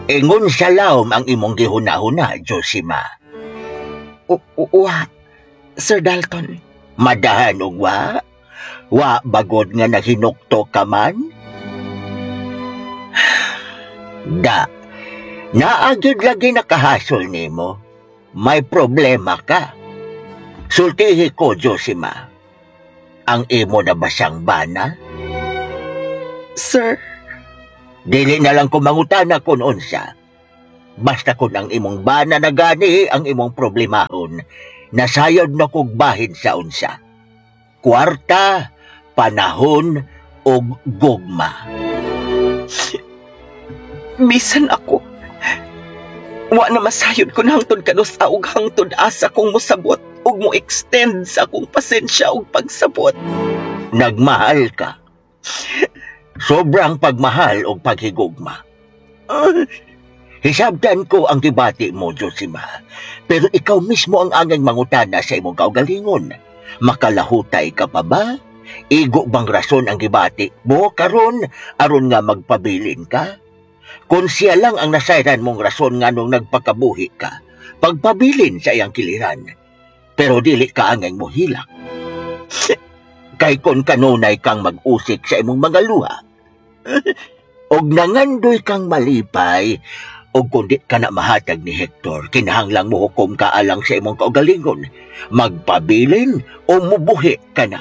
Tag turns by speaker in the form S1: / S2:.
S1: Ingon sa lawom ang imong gihuna-huna, Josima.
S2: Wa, Sir Dalton.
S1: Madahan og wa? Wa bagod nga nahinukto ka man? Da, naa gyud lagi nakahasol nimo. May problema ka. Sultihi ko, Josima. Ang imo na ba siyang bana?
S2: Sir,
S1: Dili na lang ko mangutana kung unsa. Basta kung ang imong bana na gani ang imong problemahon, nasayod na kog bahin sa unsa. Kwarta, panahon, ug gugma.
S2: Bisan ako. Wa na masayod ko na hangtod kanusa ug hangtod asa kong mosabot ug mo extend sa akong pasensya ug pagsabot.
S1: Nagmahal ka. Sobrang pagmahal og paghigugma. Hisabtan ko ang gibati mo, Josima. Pero ikaw mismo ang angay mangutana sa imong kaugalingon. Makalahutay ka pa ba? Igo bang rason ang gibati mo karon aron nga magpabilin ka? Kung siya lang ang nasayran mong rason nganong nagpakabuhi ka, pagpabilin sa iyang kiliran. Pero dili ka angay mohilak. Kay kon kanunay kang mag-usik sa imong mga luha, og nangandoy kang malipay, og kung di ka na mahatag ni Hector, kinahanglang mohukom ka alang sa imong kaugalingon. Magpabilin o mubuhi ka na.